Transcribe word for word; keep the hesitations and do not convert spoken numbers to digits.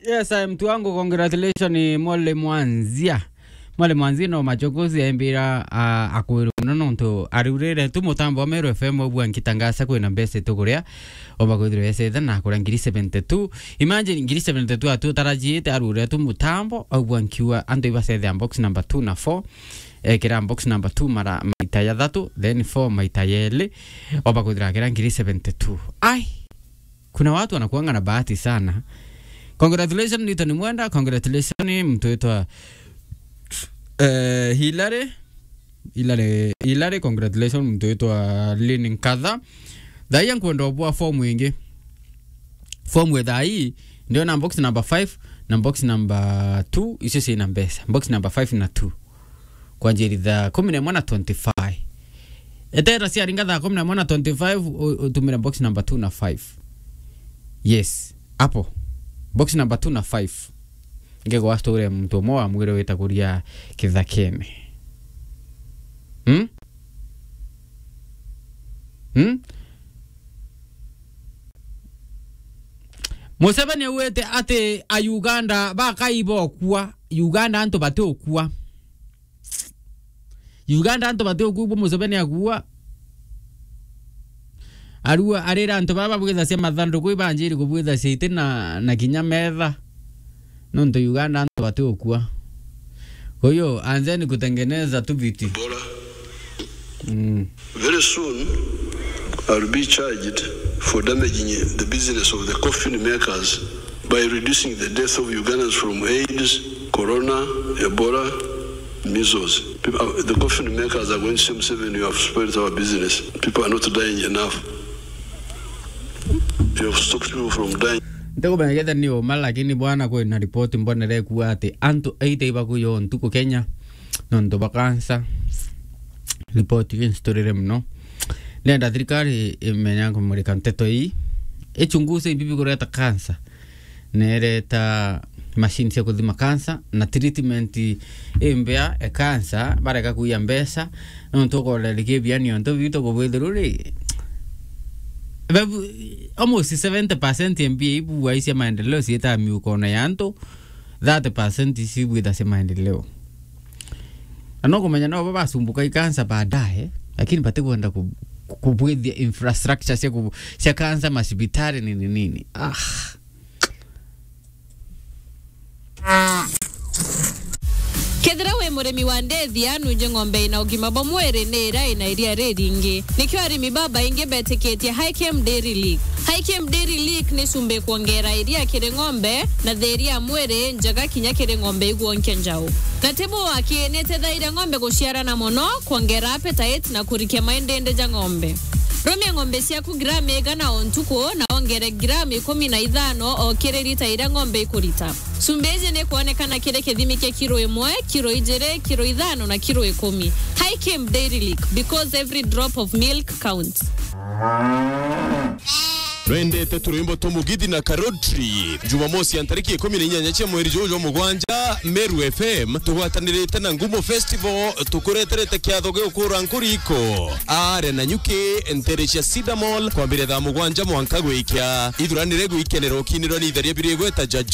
Yes, I am Tuango, congratulations, Mwalimu Anzia. Mwalimu Anzia no machokozi aimbira, a, akwirwa muno nontu ariurire tu mutambo wa Meru F M aubua nkitangasa kwina mbeca tukuria, oba kwithirwa ecetha na kuria ngiri seventy-two. Imagine ngiri seventy-two atu tarajiite arure tu mutambo, aubua nkiwa antu ibacethea box number two na four. Ekira box number two mara maita ya thatu, then four maita ya eli, oba kwithira akira ngiri seventy-two. Ai! Kuna watu wanakuanga na bahati sana. Congratulations, Newton Mwenda. Congratulations, mtu witwa, eh, Hilary. Hilary, Hilary, congratulations, mtu witwa Lynn Nkatha. Thaia nkwenda ubua form ingi. Form we thaa hii, ndio na box number five na box number two, icio ciina mbeca. Box number five na two. Kwanjiri thaa kumi na imwe na twenty-five. Etera ciaringa thaa kumi na imwe na twenty-five, u-, utumire box number two na five. Yes, hapo. Box number two na five. Ngegwa story muntu umwe wa mwire wita kuria kithakene. Hmm? Hmm? Museveni augite ati a Uganda bakai bokua. Uganda antu batiukua. Uganda antu batiukua, bu Museveni akua. Arua arira antu baba babwithacia mathanduku ibanjiri kubwithacia iti na, na kinya metha. Nontu Uganda antu batiukua. Kwa hiyo, anzeni kutengeneza tu viti. Bora. Mm. Very soon, I'll be charged for damaging the business of the coffin makers by reducing the death of Ugandans from AIDS, corona, Ebola, measles. People, uh, the coffin makers are going to say, "Museveni, you have spoiled our business. People are not dying enough. You have stopped people from dying." Ntikumenya ketha ni uma, lakini bwana, kwina ripoti mbonere kuuga ati antu eight ibakuya o ntuku Kenya nontu bwa cancer. Ripoti ii nsturire muno. Ndenda thirikari imenya kumurika nteto ii, ichunguze imbibi kureta cancer, nereta machine cia kuthima cancer na treatment imbea e cancer, bareka kuia mbeca, nontu ukorera kibiani ontu bitu kubwithiru ri. Babu, almost seventy percent ya mbia ibu wai cia maendeleo ciitaa miukone ya antu, thirty percent ici ibwitha cia maendeleo. Na no kumenya no bo basumbuka i cancer baadaye, lakini batikwenda ku-, ku-, kubwithia infrastructure cia ku-, cia cancer, macibitari nini nini. Ah. Kethira wi murimi wa ndethia, nunje ng'ombe ina ugima bwa mwiri ni iria ina iria riringi. Nikio arimi babaingi betikitie High Chem Dairy Lick. High Chem Dairy Lick ni cumbi kwongera iria kiri ng'ombe na thiria ya mwiri njega kinya kiri ng'ombe igwonkia njau. Na ti bu aki, ni itethairia ng'ombe guciarana mono, kwongera appetite na kurikia maindindi ja ng'ombe. Rumia ng'ombe ciaku gramu igana o ntuku na wongere gramu ikumi na ithano o kiri lita iria ng'ombe ikurita. Cumbi iji ni kwonekana kiri kithimi kia kiro imwe, kiro ijiri, kiro ithano na kiro ikumi. High Chem Dairy Lick, because every drop of milk counts. Nwendete turwimbo twa Mugithi na Karotri? Jumamosi ya ntariki ikumi na inyanya cia mweri juju jwa mugwanja, Meru F M tugwatanirite na Ngumo Festival tukureterete kiatho gia gukura nkuriko. Are na nyuki ntere cia Cedar Mall kwambiria thaa mugwanja mwanka gwikia. Ithuranire gwikenera ukinirwa ni itheria biri igweta Jajo.